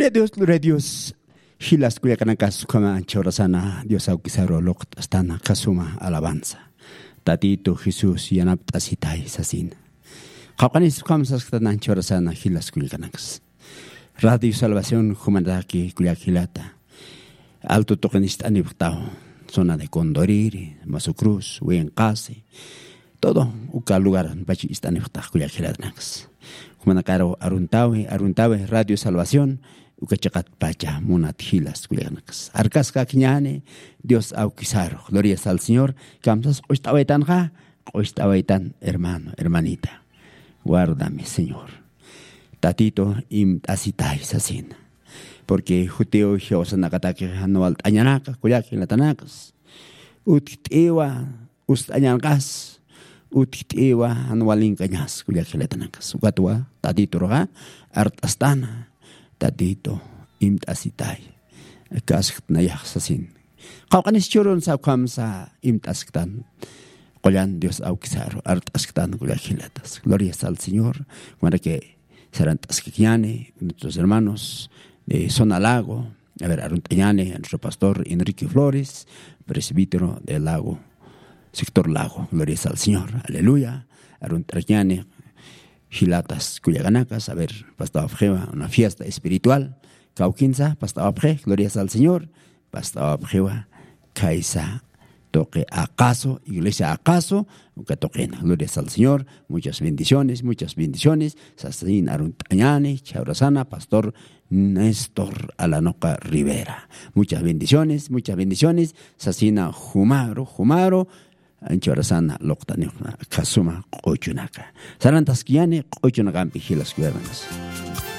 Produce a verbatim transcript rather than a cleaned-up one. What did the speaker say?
Gloria a Dios, gloria a Dios. Jilas kullakanakas, ukhama anchhawrasana Dios awkisaru luqt'astana, kasuma alabanza. Tatitu Jesús yanapt'asitay sasina. Qawqanis ukham sasktan anchhawrasana jilas kullakanakas. Radio Salvación jumanataki kullak jilata. Alto tuqinist'anipxtaw. Zona de Condoriri, Masu Cruz, Winqasi. Todo uka lugar pach ist'anipxtax kullak jilatanakas. Jumanakaru aruntawi, aruntawi Radio Salvación, uka chiqat pacha munat jilas kullakanakas. Arkaskakiñani, Dios awkisaru. Gloria al Señor. Kamsas q'ust'awaytanxa, q'ust'awaytan hermano, hermanita. Guárdame, Señor. Tatito, imt'asitay sasina. Porque jutiw jiwasanakataki jan walt'añanaka, kullak jilatanakas. Utjt'iwa, ust'añanqas, utjt'iwa, jan walinkañas, kullak jilatanakas. Ukatwa, Tatiturxa, art'astana, Tatito, imt'asitay. Kasknayax sasin. Qawqanis churun sa ukhamsa imt'asktan. Qullan Dios awkisaru, art'asktan kullak jilatas. Gloria al Señor. Manake sarant'askakiñani, nuestros hermanos de Zona Lago. A ver, arunt'añani, nuestro pastor Enrique Flores, presbítero de Lago, sector Lago. Gloria al Señor. Aleluya. Arunt'añani, jilatas kullakanakas. A ver, pastawapxiwa, una fiesta espiritual. Kawkinsa, pastawapxi, gloria al Señor. Pastawapxiwa, kaysa tuqi aqasu, iglesia aqasu, uka tuqina. Gloria al Señor, muchas bendiciones, muchas bendiciones. Sasin arunt'añani, chawrasana, pastor Néstor Alanoca Rivera. Muchas bendiciones, muchas bendiciones. Sasina jumaru, jumaru. Anchhawrasana luqt'anipxna kasuma q'uchunaka. Sarantaskiñani q'uchunakampi jilas kullakanakas.